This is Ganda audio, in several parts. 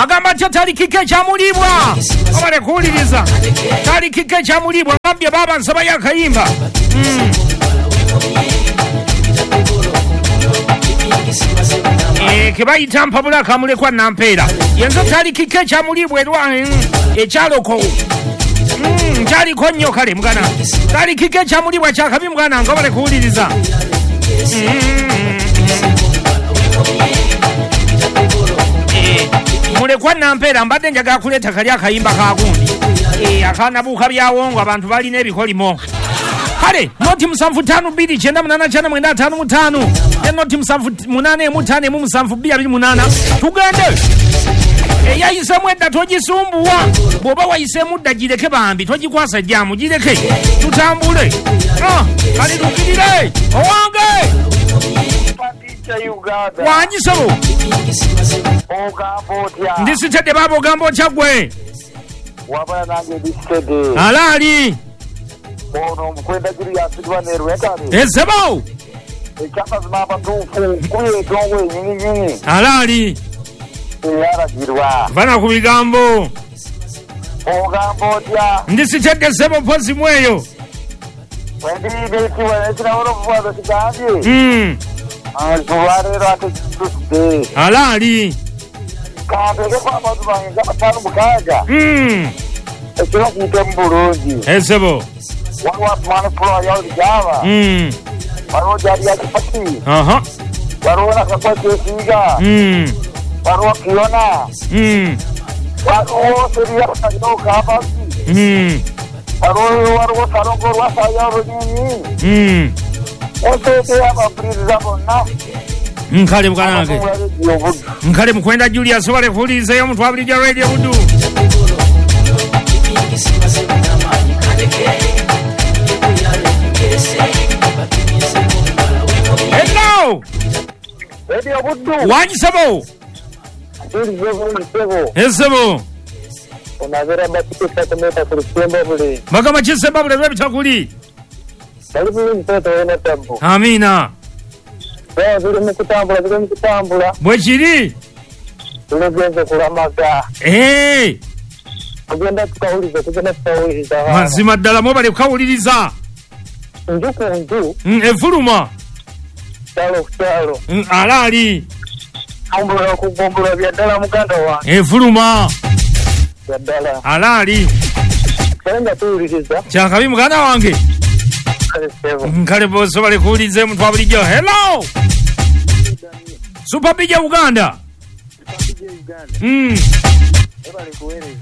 Agamba nti talikika ekyamulibwa obale kuwuliriza talikika ekyamulibwa ngambye baaba nsaba yakayimba. Kebayita mpabula kamulekwa nampeera yenzo talikika ekyamulibwa erwa ekyaloko kyaliko nnyo kale mugana talikika ekyamulibwa kyakabi mugana nga obale kuwuliriza. Mulekwa nampeera mbadde njagala kuleeta kali akayimba kagundi akanabuuka byawongo abantu balina ebikolimo. Kale noti 752 989 55 ne noti 785 572 tugende. Eyayisemu edda togisumbuwa, bw'oba wayisemu dda gireke bambi togikwasa jjamu gireke tutambule. Kale tukirire owange wangisebo ndisitedde baaba ogamba otya gwe alaali ono omukwenda Julius Rwekale ezebo ekyamazima abatuufu kuyetongo enyininyini alaali eyaragirwa vana ku bigambo ogamba otya ndisitedde sebo mpozi mweyo wendiibetiweekirawo kigambye olwaleero ate kitudde alaali kanteekeko abantu bange nga 56 ekiro kiyitemu bulungi ezebo waliwo Asumani Pulo yawuligyaba waliwo gyali ya kipati waliwo nakakwa kyesiiga waliwo Kiona waliwo Seriya Kabasi waliwo Salongo Lwasaya Olunyinyi oseete abampuliriza bonna. Nkale mukanange nkale mukwenda Julius obale kuwulirizayo omuntu wabulijja Radio Buddu. Hello Radio Buddu wangisebo ezebo onabera batikisa kumeta kulisemba buli bagamba kisemba buli lwebitakuli amina biri mukutambula biri mukutambula bwekiri tugenze kulamaga tugenda tukawuliriza tugenda tukawuliriza mazima ddala mwebale kukawuliriza nju ku nju efuluma kyalo ku kyalo alaali gombolola ku gombolola bya ddala muganda wange efuluma bya ddala alaali kale nga tuwuliriza kyakabi muganda wange nkale bose bale kuwuliriza omuntu wa bulijjo. Hello Super BJ Uganda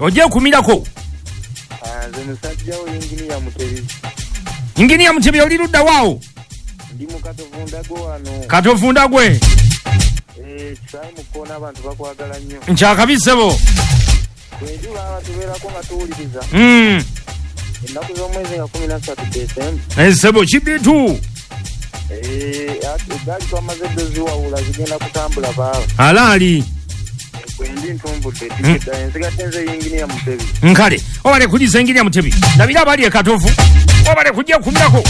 ojja okumirako. Nze musajja wo Inginiya Mutebi. Inginiya Mutebi oli ludda waawo? Ndi mu Katovundagwe wano. Katovundagwe kisaayi mu kkoona abantu bakwagala nnyo. Nkyakabi ssebo enjuba abatubeerako nga tuwuliriza ennaku z'omwezi nga 13 Desemba ssebo kibitu eggaali twamaze dda oziwawula zigenda kutambula baaba alaali kwendi ntumbudde tikidda ensigadde nze Inginiya Mutebi. Nkale obale kuliza Inginiya Mutebi ndabira abali e Katovu obale kujja kumirako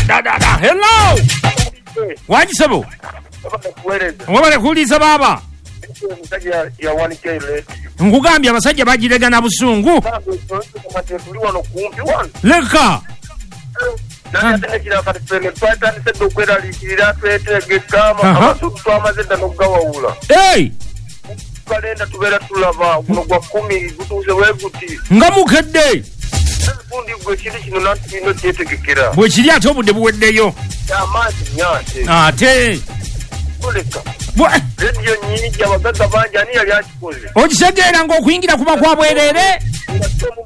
da hello wangisebo wabale kuliza baaba nkugambye abasajja bagirega na busungu leka nga mukedde bwe kiri ate obudde buweddeyo ate rediyo nyingi abagagga bangi ani yali akikoze okitegeera ng'okuyingira kuba kwa bwereere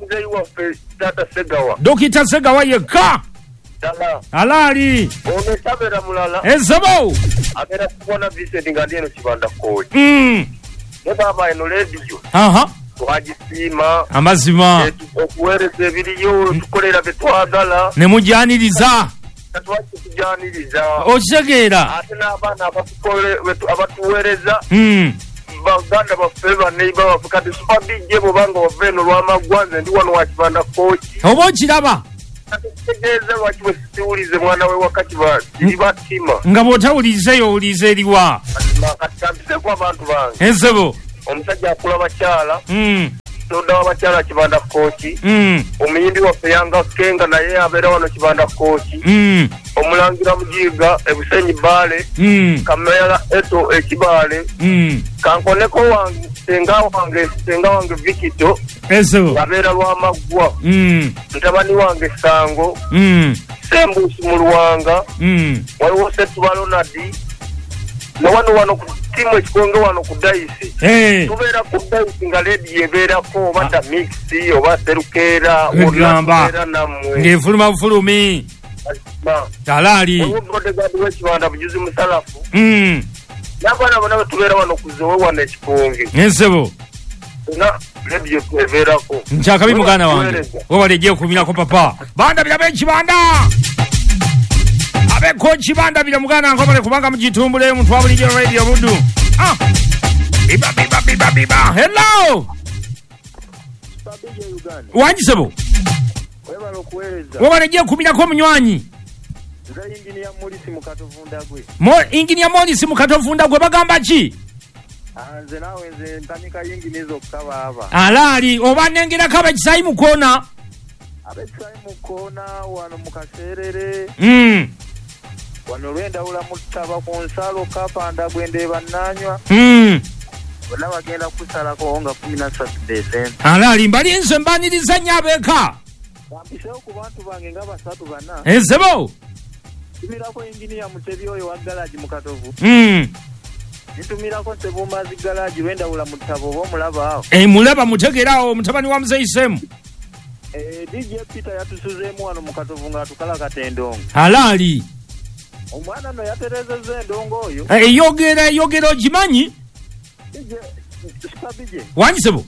muzeeyi waffe taata Segawa Dokita Segawa yekka alaali ono tabeera mulala ezebo abeera kubona Vincent nga ndi eno Kibanda Kooki ne baaba eno rediyo twagisiima amazima okuweereza ebiriyo tukolera bye twagala ne mujjaniriza tujaniriza okitegeera ate n'abaana abatuweereza baganda baffe baneiba baffe kati Super DJ bwobanga wava eno Lwamaggwa nze ndi wano wa Kibanda Kooki oba okiraba Tegeeza lwaki bwe siwulize mwana we wakati batima. Nga bw'otawulizeeyo owulize eriwa. Kati abantu bange. Ensebo. Omusajja akula bakyala. Soda w'abakyala Kibanda Kooki. Omuyimbi waffe Yanga Kenga naye abeera wano Kibanda Kooki. Omulangira Mujiga Ebusenyi Bbaale. Kamera Eto Ekibaale. Kankoneko wange senga wange Vikito. Ensebo. Abeera Lwamaggwa. Mutabani wange Sango. Sembuusi mu Luwanga. Waliwo Ssetuba Ronald. Na wano ku timu ekikonge wano ku Daisi. Tubeera ku Daisi nga ledi ebeerako oba ta mix oba serukeera wonna nammwe. Ng'efuluma bufulumi. Talaali. Waliwo bodyguard w'Ekibanda Bujuzi Musalafu. N'abaana bonna tubeera wano ku Zowe wano ekikonge. Ensebo. Na ledi ebeerako. Nkyakabi muganda wange. Webale gyekumirako papa. Bandabira b'Ekibanda. Abeko Kibanda bila muganda ngomale kubanga mujitumbule omuntu wa bulijjo radio Buddu. Biba biba biba biba. Hello. Wanjisebo. Webale okuweereza. Webale gyekumirako munywanyi. Nze Engineer Morris Mukatovunda gwe. Engineer Morris Mukatovunda gwe bagamba ki? Nze naawe nze ntamika yingini zokka baaba. Alaali oba nengerako abekisayi mu koona. Abekisayi mu koona wano mu Kaseerere. Wano lwendawula mutaba ku nsalo Kapanda gwendeeba nnaanywa. Bonna bagenda kusalako nga 13 Desemba. Alaali mbali nze mbaniriza nnyo abeeka. Bampiseewo ku bantu bange nga 3 4. Ensebo. Ntumirako Engineer Mutebi oyo wa garagi mu Katovu. Ntumirako Ssebumbazi garagi lwendawula mutaba oba omulaba awo. Mulaba mutegeera awo mutabani wa Muzeeyi Semu. DJ Peter yatusuzeemu wano mu Katovu ng'atukalakata endongo. Alaali. Omwana no yaterezezza endongo oyo. Eyogera ogimanyi? Sukabije. Wanjisebo.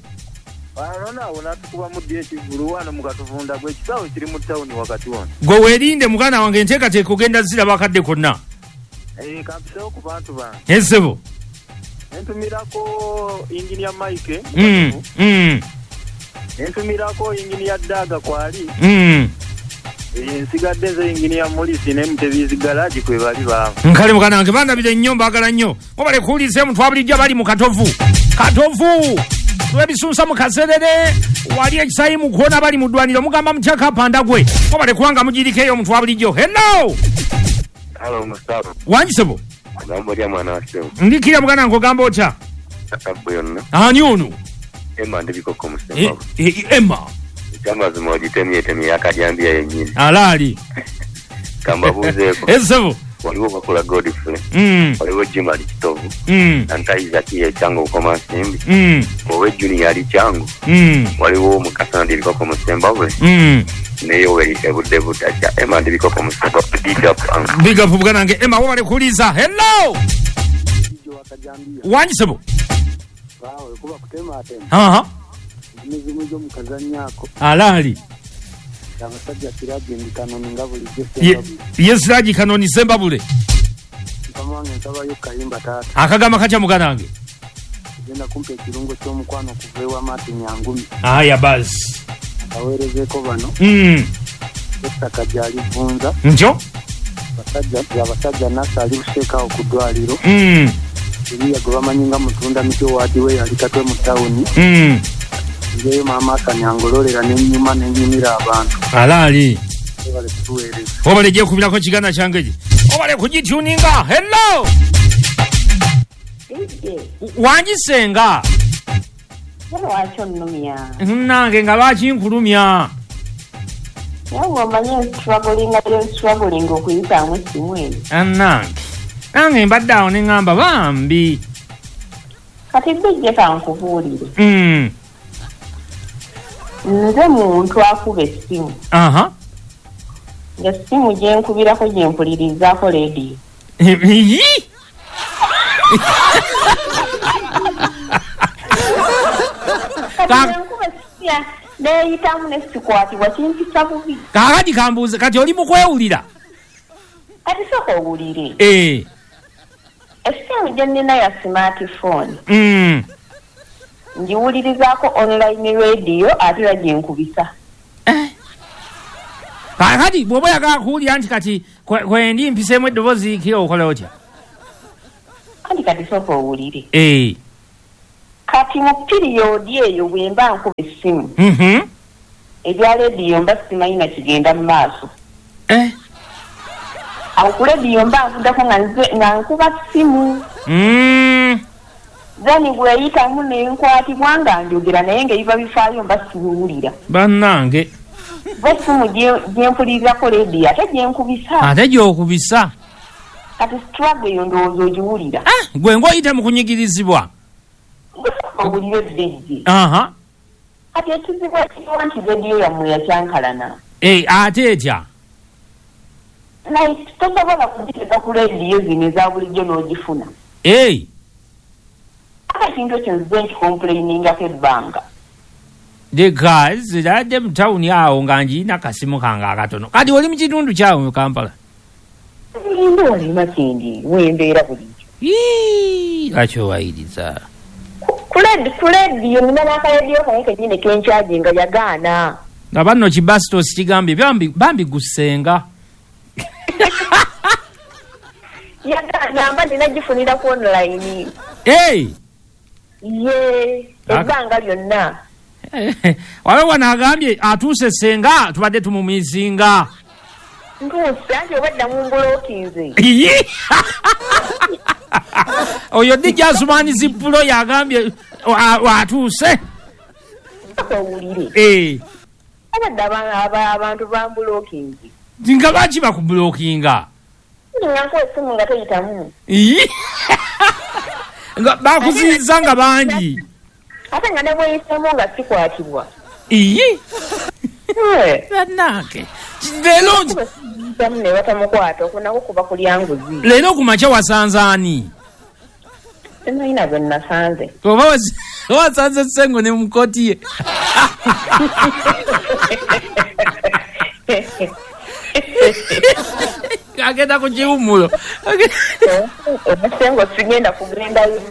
Wano awo n'atukubamu ddi ekivvulu wano mu Katuvunda gwe ekisaawe kiri mu tawuni wakati wano. Gwe weerinde muganda wange enteekateeka ogenda ziraba akadde konna. Kampiseewo ku bantu bange. Ensebo. Ntumirako Engineer Mike. Ntumirako Engineer Daga kwali. Nsigadde nze Engineer Morris ne Mutebizi garagi kwe bali baabo. Nkale muganda wange bandabire nnyo mbaagala nnyo. Mubale kuwuliza omuntu wa bulijjo bali mu Katovu. Katovu! Lwebisunsa mu Kaserere, wali ekisayi mu koona bali mu ddwaniro mugamba mutya Kapanda gwe. Mubale kubanga mugiriko eyo omuntu wa bulijjo. Hello! Hello Mustafa. Wanjisebo. Ogamba otya mwana wa ssebo? Ndikira muganda wange ogamba otya? Akabbo yonna. Ani ono? Emma ndibikoko Mustafa. Emma. Ekyamazima ogitemyetemye akajambiya yennyini. Alaali. Kambabuuzeeko. Ensebo. Waliwo Bakula Godfrey. Waliwo Jimali Kitovu. Nantaiza Kiye Kyangu Bukomansimbi. Owe Junior ali Kyangu. Waliwo Mukasa ndibikoko Musembabule. Ne Yoweri ebudde butakya. Emma ndibikoko Musembabule. Big up. Big up muganda wange Emma webale kuwuliza. Hello. Wanjisebo. Waawe kuba kutematema. Aha. Emizimu gy'omukazannyako. Alaali. Abasajja Siraji ndi Kanoni nga bulijjo Sembabule. Ye Siraji Kanoni Sembabule. Mukama wange nsabayo kayimba taata. Akagamba katya muganda wange? Genda kumpa ekirungo ky'omukwano okuva ewa Martin Nyangumi. Aya basi. Abaweerezeeko bano. Ettaka gyali Vunza. Ntyo? Abasajja Nasa ali Buseekaawo ku ddwaliro. Eriya gwe bamanyi nga Mutunda miti owaadi we yali Katwe mu tawuni. Ngeyo maama akanyangololera n'ennyuma n'ennyumira abantu. Alaali. Webale kutuweereza. Webale gyekubirako kiganda kyange gye. Webale kugituninga. Hello. Wanjisenga. Lwaki onnumya? Nange nga lwaki nkulumya? Nawe omanyi struggling okuyitaamu essimu eno. Nange. Nange mbadde awo ne ŋŋamba bambi. Kati bijje kankubuulire. Nze muntu akuba essimu. Aha. Ng'essimu gye nkubirako gye mpulirizaako leediyo. Kati nkuba essimu neeyitamu ne sikwatibwa kimpisa bubi. Kaakati kambuuze kati oli mu kwewulira? Kati sooka owulire. Essimu gye nnina ya smartphone. Ngiwulirizaako online radio ate era gye nkubisa. Kakati bw'oba oyagala kuwulira nti kati kwendi mpiseemu eddoboozi ki okola otya? Anti kati sooka owulire. Kati mu piriyodi eyo bwe mba nkuba essimu, ebya lediyo mba simanyi na kigenda mu maaso. Awo ku lediyo mba nvuddako nga nkuba ssimu. Then bweyitamu ne nkwatibwa nga njogera naye ng'ebiba bifaayo mba sibiwulira. Bannange. Bo essimu gye mpulirirako lediyo ate gye nkubisa. Ate gy'okubisa. Kati struggle eyo ndowooza ogiwulira. Gwe ng'oyita mu kunyigirizibwa. Owulire ddejje. Kati ekizibu ekiriwo nti lediyo yammwe yakyankalana. Ate etya? Like tosobola kugitega ku lediyo zino eza bulijjo n'ogifuna. Ate ekintu ekyo nzize nkikomplainingako ebbanga. Leka ziradde mu tawuni awo nga ngirina kasimu kange akatono. Kati oli mu kitundu kyawe mu Kampala? Ndi wali Makindye, wembeera bulijjo. Lwaki owayiriza? Ku lediyo nina n'akalediyo kange kennyini kenkyaginga yagaana. Nga banno kibasitosi kigambye bambi gusenga. Yagaana mba nina gifunira ku online. Ye ebbanga lyonna. Waliwo wano agambye atuuse senga tubadde tumumizinga. Ntuuse anti obadda mumbulokinze. Oyo DJ Asumani Zipulo yagambye atuuse. Owulire. Abadde abantu bambulokinze. Nga lwaki bakubulokinga? Nga nkuwa essimu nga teyitamu. Nga bakuziyiza nga bangi. Ate nga ne bweyitamu nga sikwatibwa. Bannange. Leero ne batamukwata okunako kuba kulya nguzi. Leero ku makya wasanze ani? Simanyi na gwe nasanze. Oba wasanze Ssengo ne mukooti ye. Agenda ku kiwummulo. Ssengo sigenda kugendayo.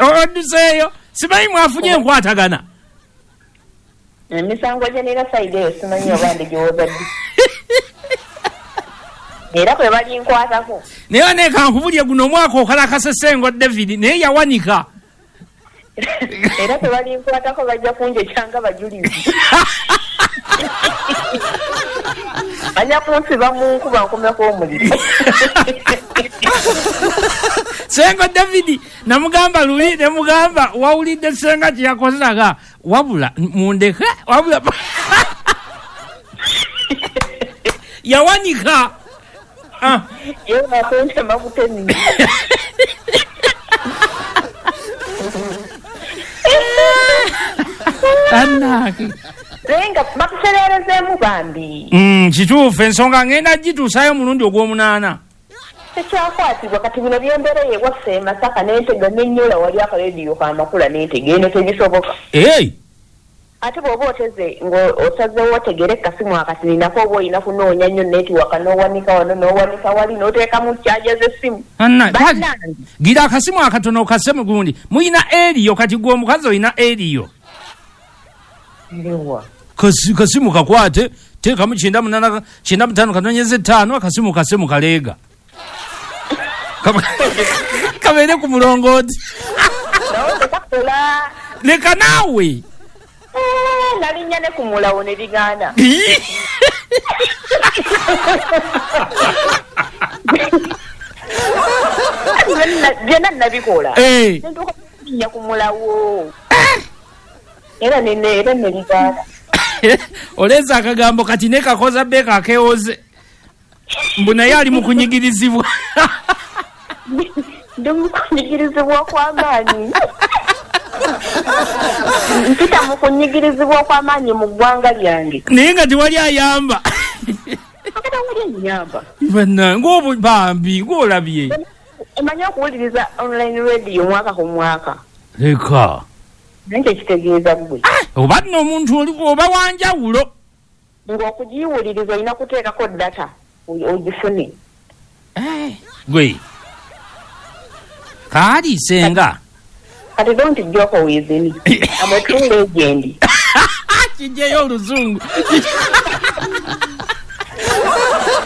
Odduseeyo. Simanyi mwafunye enkwatagana. Emisango gye nina sayidi eyo simanyi oba ndigiwoza ddi. Era kwe balinkwatako. Naye ne kankubulye guno omwaka okalakase Ssengo David naye yawanika. Era kwe balinkwatako bajja kunjekyanga bajulizi. Bajja kunsiba mu nkuba nkomeko omuliro. Ssengo David namugamba luli nemugamba wawulidde Ssenga kye yakozenaga wabula mundeke wabula yawanika. Ye bakuntema butemi. Annaki. Senga bakusereerezeemu bambi. Kituufu ensonga ngenda gituusaayo mulundi ogw'omunaana. Tekyakwatibwa kati bino byembeera ewaffe e Masaka n'entega n'ennyola wali akalediyo k'amakula n'entega eno tebisoboka. Ate bw'oba oteze ng'osazeewo otegere kasimu akati ninako oba olina kunoonya nnyo netiwaka n'owanika wano n'owanika wali n'oteekamu kyaja z'essimu. Gira akasimu akatono okase mu gundi. Muyina eriyo kati gwe omukazi olina eriyo. Ewa. Kasimu kakwate teekamu 98 95 akasimu kase mu kaleega. Kabeere ku mulongooti. Leka naawe. Nalinnya ne ku mulawo ne bigaana. Byonna nabikola. Nentuuka kulinnya ku mulawo. Era ne bigaana. Oleeza akagambo kati ne kakoza beeka akeewoze. Mbu naye ali mu kunyigirizibwa. Ndi mu kunyigirizibwa kw'amaanyi. Mpita mu kunyigirizibwa kw'amaanyi mu ggwanga lyange. Naye nga tewali ayamba. Tewali ayamba. Bannange bambi ng'olabye. Omanyi okuwuliriza online radio mwaka ku mwaka. Leka. Naye kyekitegeeza ggwe. Oba nno omuntu oli oba wanjawulo. Ng'okugiwuliriza olina kuteekako data ogifune. Gwe. Kaali Ssenga. Kati don't joke with me. I'm a true legend. Kijeyo oluzungu.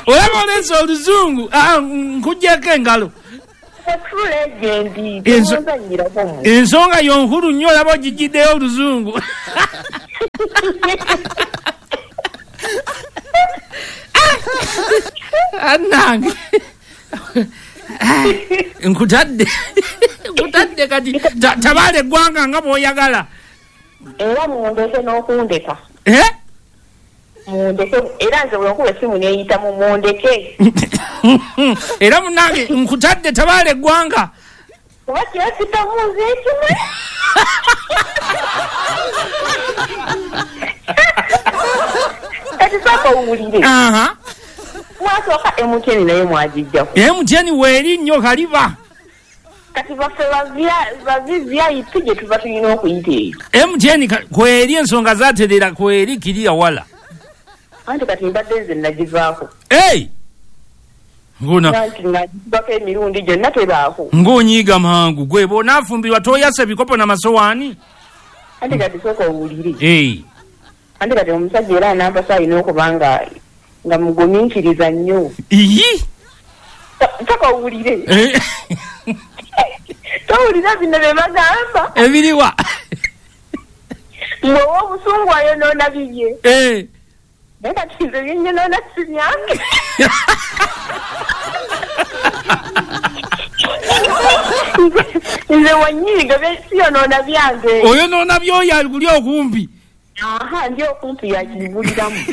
Olaba oleese oluzungu, nkuggyeko engalo. Ensonga yonkulu nnyo, olaba ogijjiddeyo oluzungu. Annange nkutadde kati tabaala eggwanga nga bw'oyagala. Era mundeke n'okundeka. Mundeke, era nze bwe nkuba essimu neeyita mu mundeke. Era munnange nkutadde tabaala eggwanga. Kuba kyesitamu nze ekimu. Kati sooka owulire. Mwasooka MTN naye mwagijjako. MTN weeri nnyo kaliba. Kati baffe ba VIP gye tuba tulina okuyita eyo. MTN kweri ensonga zaaterera kweri kiriya wala. Anti kati mbadde nze nagivaako. Ngona. Nagivako emirundi gyonna tebaako. Ng'onyiiga mangu gwe bw'onaafumbirwa toyasa ebikopo n'amasowaani. Anti kati sooka owulire. Anti kati omusajja era anampasa alina okuba nga mugumiikiriza nnyo. Iyi? Sooka owulire. Towulira bino bye bagamba. Ebiriwa. Ng'owa obusungu ayonoona bibye. Naye kati nze byenyonoona si byange. Nze wanyiiga siyonoona byange. Oyonoona byoyo guli okumpi. Aha, ndi okumpi yakibuliramu.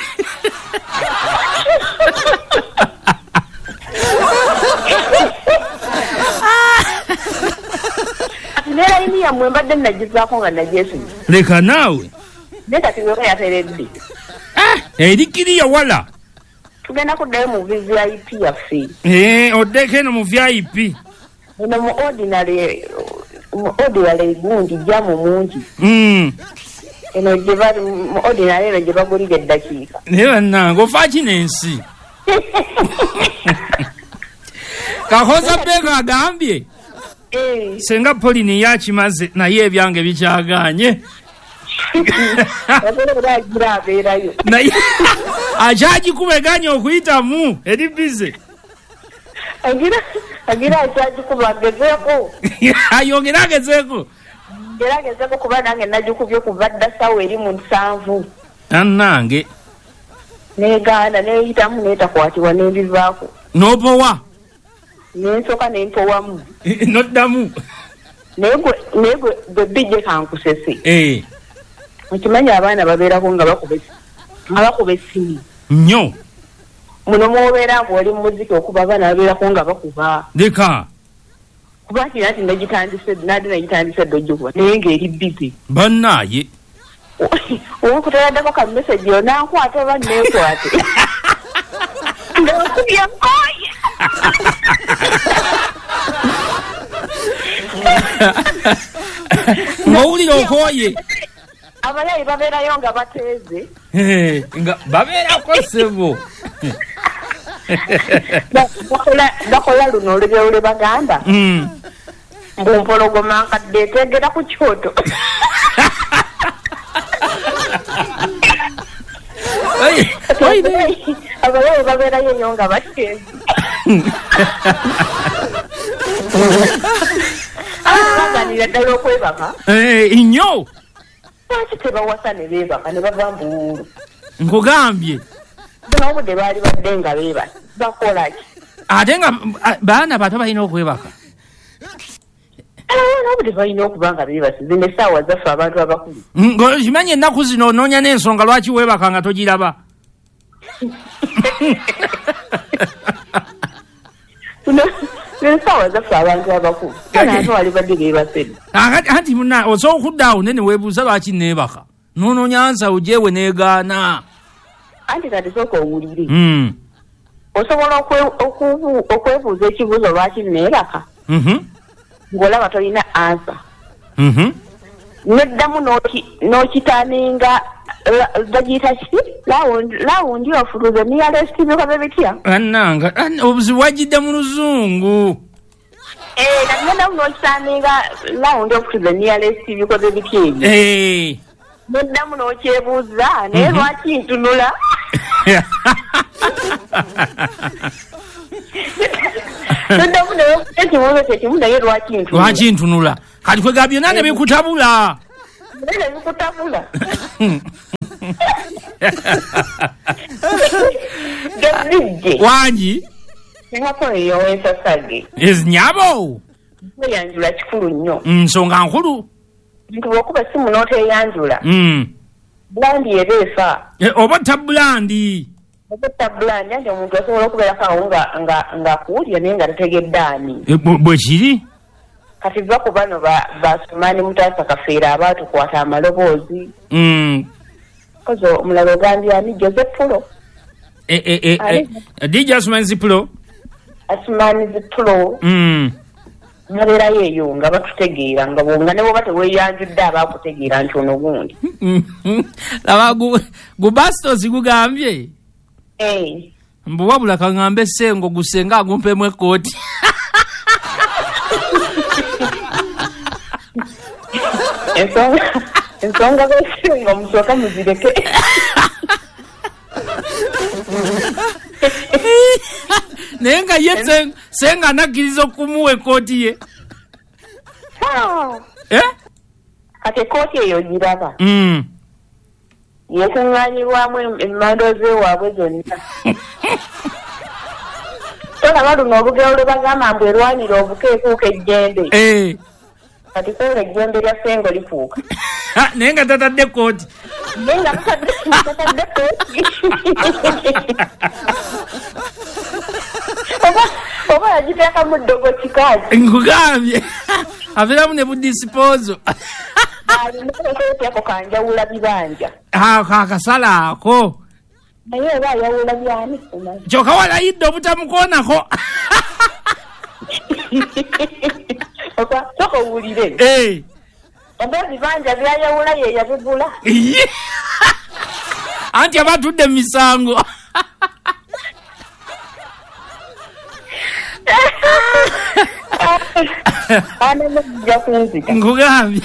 Ati ne layini yammwe mbadde nagivaako nga nagyesunye. Leka naawe. Naye kati weka yateredde. Eri kiriya wala. Tugenda kuddayo mu VIP yaffe. Oddeko eno mu VIP. Eno mu ordinary gundi jjamu mungi. Eno gye bali mu ordinary eno gye bagulira eddakiika. Naye bannange ofa ki n'ensi? Kahoza Beka agambye. Senga Pauline yakimaze naye ebyange bikyagaanye. Naye akyagikuba okuyitamu eri bize. Agira akyagikuba agezeeko. Ayongere agezeeko. Era agezeeko kuba nange nagikubye kuva dda ssaawa eri mu 7. Annange. Negaana neeyitamu neetakwatibwa n'ebivaako. N'opowa? Nensooka nempowamu. Noddamu? Naye gwe bijje kankusese. Okimanyi abaana babeerako nga bakuba essimu. Nnyo. Muno mw'obeera ng'oli mu muziki okuba abaana babeerako nga bakuba. Leka. Kuba nti nati nagitandise dda ogikuba naye ng'eri busy. Bannaaye. Owekuteraddako ka message onankwata oba neekwate. Nga nkubye nkooye. Ng'owulira okooye. Abalayi babeerayo nga bateeze. Nga babeerako ssebo. Bakola luno olugero lwe bagamba. Mbu mpologoma nkadde eteegera ku kyoto. Abalayi babeerayo nnyo nga bateeze. Baganira ddala okwebaka. Nnyo. Lwaki tebawasa ne beebaka ne bava mbuwuulu? Nkugambye. N'obudde baali badde nga beebase. Bakola ki? Ate nga baana bato balina okwebaka. N'obudde balina okuba nga beebase. Zino essaawa zaffe abantu abakulu. Ng'okimanyi ennaku zino onoonya n'ensonga lwaki weebaka nga togiraba. Essaawa zaffe abantu abakulu. Abantu bali badde beebase. Anti munna osobola okudda awo ne weebuuza lwaki neebaka. N'onoonya ansa ogyewe n'egaana. Anti kati sooka owulire. Osobola okwebuuza ekibuuzo lwaki neebaka. Ng'olaba tolina ansa. Neddamu n'okitaninga bagiyita ki? Lawundi ofuluze nearest bikoze bitya? Annanga obuzibu wajjidde mu luzungu. Kati neddamu n'okitaninga lawundi ofuluze nearest bikoze bitya ebyo? Neddamu n'okyebuuza naye lwaki ntunula? Toddamu naye ekibuuzo kyekimu, naye lwaki ntunula? Lwaki ntunula? Kati kwega byonna ne bikutabula. Naye ne bikutabula. Gazijje. Wangi? Singako eyo wensasage. Nyabo. Kweyanjula kikulu nnyo. Nsonga nkulu. Nti bw'okuba essimu n'oteyanjula. Bulandi eba efa. Oba tabulandi. Oba tabulandi, anti omuntu asobola okubeerako awo ng'akuwulira naye nga tategedde ani. Bwe kiri? Kati va ku bano Basumani Mutaasa Kafeero abaatukwata amaloboozi. Kozi omulala ogambye ani? Jose Pulo. DJ Asumani Zipulo. Asumani Zipulo. Babeerayo eyo nga batutegeera, nga ne bw'oba teweeyanjudde abaakutegeera nti ono gundi. Laba gubastos gugambye. Mbu wabula kaŋŋambe Ssengo gusenga agumpemu ekkooti. Ensonga z'Essengo musooke muzireke. Naye nga ye Ssenga anakkiriza okumuwa ekkooti ye. Kati ekkooti eyo giraba. Yekuŋŋaanyirwamu emmando z'ewaabwe zonna. Tolaba luno olugero lwe bagamba mbu erwanira obuko ekuuka ejjembe. Kati kwolwo ejjembe lya Ssengo likuuka. Naye nga tatadde ekkooti. Naye nga tatadde ekkooti. Oba yagiteekamu ddogo kikazi. Nkugambye. Abeeramu ne budisipozo. Alina ekkooti ako kanjawula bibanja. Akasala ako. Naye oba ayawula byani? Kyokka walayidde obutamukoonako. Sooka owulire. Oba ebibanja byayawula ye yabigula. Anti aba atudde mu misango. Nkugambye.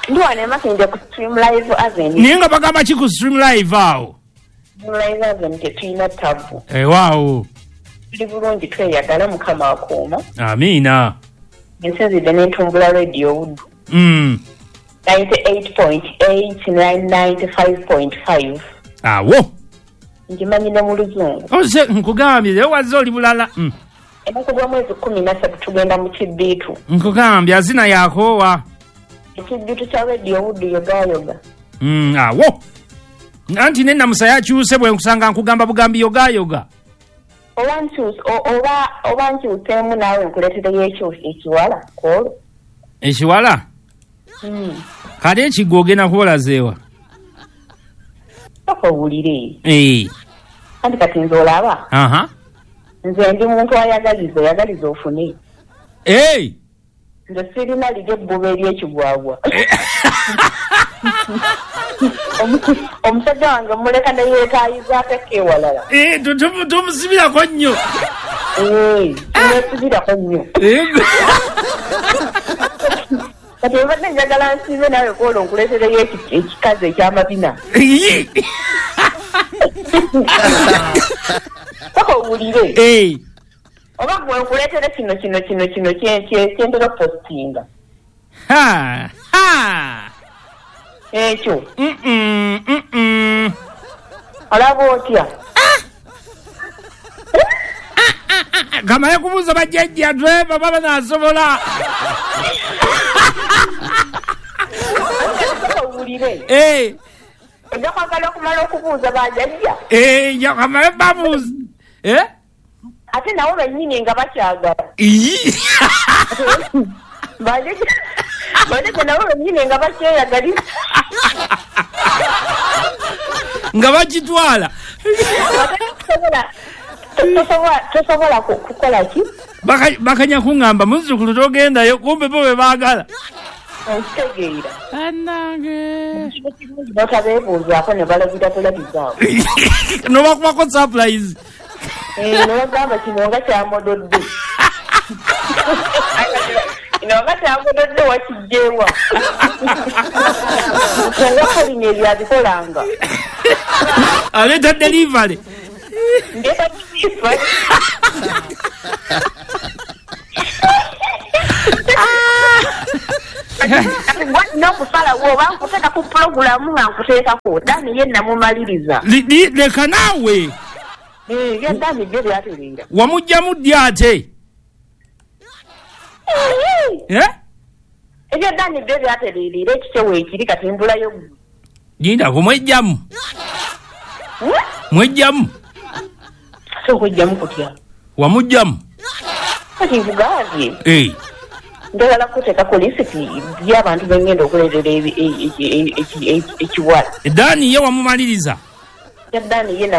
Ndi wano e Makindye ku Stream Live Avenue. Naye nga bagamba ki ku Stream Live awo? Stream Live Avenue tetulina ttabu. Waawo. Tuli bulungi, tweyagala, Mukama akuuma. Amiina. Ensinzidde n'entumbula Radio Buddu. 98.8, 95.5. Awo. Ngimanyi ne mu Luzungu. Oze nkugambye leero wazze oli bulala. Ennaku z'omwezi 13 tugenda mu kibbiitu. Nkugambye azina yakoowa. Ekibbiitu kya Radio Buddu yogaayoga. Awo. Anti ne Namusa yakyuse bwe nkusanga nkugamba bugambi yogaayoga. Oba nkyuseemu naawe nkuleetereyo ekiwala kwolwo. Ekiwala? Kale ekigwo ogenda kubolazeewa? Sooka owulire. Anti kati nze olaba. Nze ndi muntu ayagaliza, oyagaliza ofune. Nze sirina liri ebbuba ery'ekigwagwa. Omusajja wange muleka ne yeetaayizaako ewalala. Tumusibirako nnyo. Tumwesibirako nnyo. Kati obadde njagala nsiibe naawe kwolwo nkuleetereyo ekikazi eky'amabina. Sooka owulire. Oba gwe nkuleetere kino kino kino kino kyentera okupositinga. Ekyo. Olaba otya? Kamale kubuuza bajjajja tweba baba naasobola. Owulire. Ojja kwagala okumala okubuuza bajjajja. Kamale babuuza. Ate nabo bennyini nga bakyagala. Bajjajja nabo bennyini nga bakyeyagalira. Nga bakitwala. Tosobola kukola ki? Bakanya kuŋŋamba muzzukulu togendayo kumbe bo be baagala. Okitegeera. Bannange. Batabeebuuzaako ne balabira bulabizaawo. N'obakubako surprise. Ne bagamba kino nga kyamododde. Kino nga kyamododde wakiggyewa. Nga Pauline ebyo abikolanga. Aleeta delivery. Ndeeta kifa. N'okusalawo oba nkuteeka ku pulogulaamu nga nkuteekako Dani ye namumaliriza. Leka naawe. Ebya Dani byo byatereera. Wamuggyamu ddi ate? Ebya Dani byo byatereera ekikyo weekiri kati mbulayo ggwe. Linda kumwejjamu. Mwejjamu. Ate okwejjamu kutya? Wamuggyamu. Kati nkugambye. Njagala kuteekako lisiti y'abantu bengenda okuleetera ekiwala. Dani ye wamumaliriza? Ya Dani ye nawo.